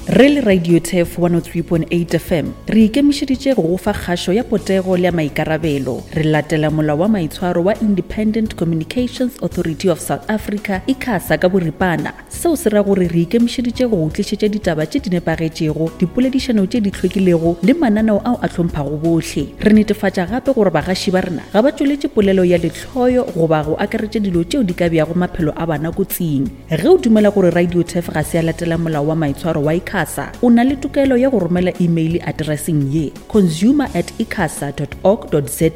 Re le Radio Turf 103.8 FM, re ikemišeditše go go fa kgašo ya potego le ya maikarabelo. Re latela molao wa maitshwaro wa Independent Communications Authority of South Africa, ICASA ka boripana. Seo se ra gore re ikemišeditše go go tlišetša ditaba tše di nepagetšego, dipoledišano tše di hlwekilego le mananeo ao a hlomphago bohle. Re netefatša gape gore bagaši ba rena ga ba tšweletše polelo ya lehloyo goba go akaretša dilo tšeo di ka beago maphelo a bana kotsing. Ge o dumela gore Radio Turf ga se ya latela molao wa maitshwaro wa ICASA, o na le tokelo ya go romela imeile atereseng ye, consumer at icasa dot org dot za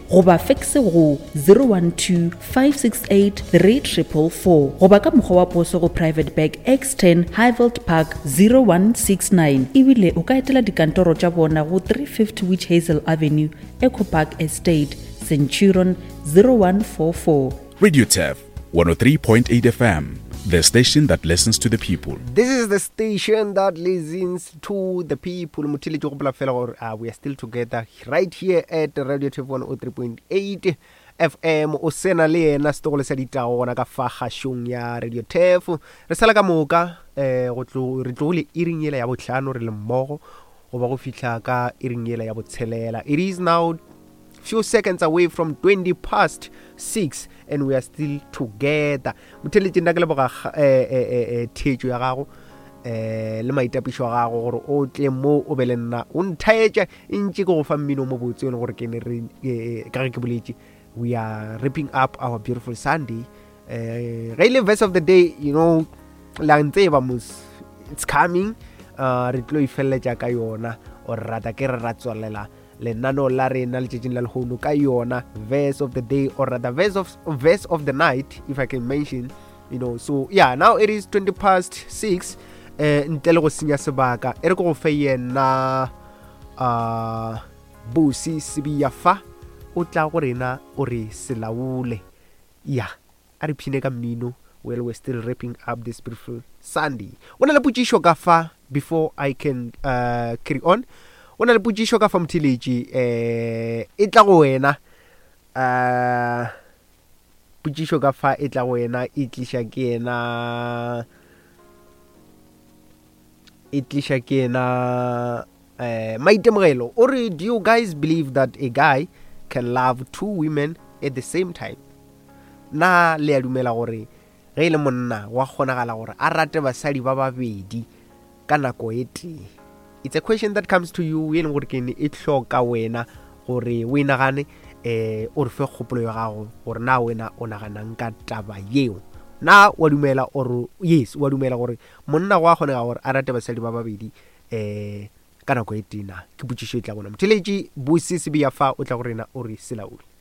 goba fekse go 012 568 3444 goba ka mokgwa wa poso go Private Bag X10 Highveld Park 0169 ebile o ka etela dikantoro tša bona go 350 Witch Hazel Avenue, Echo Park Estate, Centurion 0144. Radio Turf 103.8 FM, the station that listens to the people. This is the station that listens to the people. Motheletši gopola fela gore uh, we are still together right here at Radio Turf 103.8 FM. O sena le yena setogolo sa ditago gona ka fa kgašong ya Radio Turf. Re sala ka moka eh go tlo re tlogile iring yela ya bohlano re le mmogo goba go fihla ka iring yela ya botshelela. It is now few seconds away from 20 past 6 and we are still together motheletše nna ke leboga eh, eh, eh, eh, theetšo ya gago eh le maitapišo a gago gore o tle mo o be le nna o nthaetša e ntše ke go fa mmino mo botse e le gore ke ne re eh, ka ge ke boletše we are wrapping up our beautiful sunday eh ge e le verse of the day you know la ntseba mos it's coming uh re tlo e feleletša ka yona or rata ke re ra tswalela lenaneo la rena letšatšing la lehono ka yona verse of the day or rather verse of, verse of the night if i can mention you know so yeah now it is 20 past 6 eh ntle le go senya sebaka e re ke go fe yena uh busi sibiya fa o tla go rena o re selaole ya A re phine ka mmino while we're still wrapping up this beautiful Sunday. O na le potšišo ka fa before I can uh, carry on. O na le potšišo ka fa motheletši eh e tla go wena uh potšišo ka fa e tla go wena e tliša ke yena e tliša ke yena eh maitemogelo o re do you guys believe that a guy can love two women at the same time Na le a dumela gore ge e le monna go a kgonagala gore a rate basadi ba babedi ka nako e tee? It's a question that comes to you e leng gore ke e hloka wena gore o e nagane eh o re fe kgopolo ya gago gore na wena o naganang ka taba yeo. Na wa dumela or yes wa dumela gore monna go a kgonega gore a rate basadi ba babedi eh ka nako e tee na? Ke potšišo e tla bona. Motheletši Busi Sibiya fa o tla go rena o re selaole.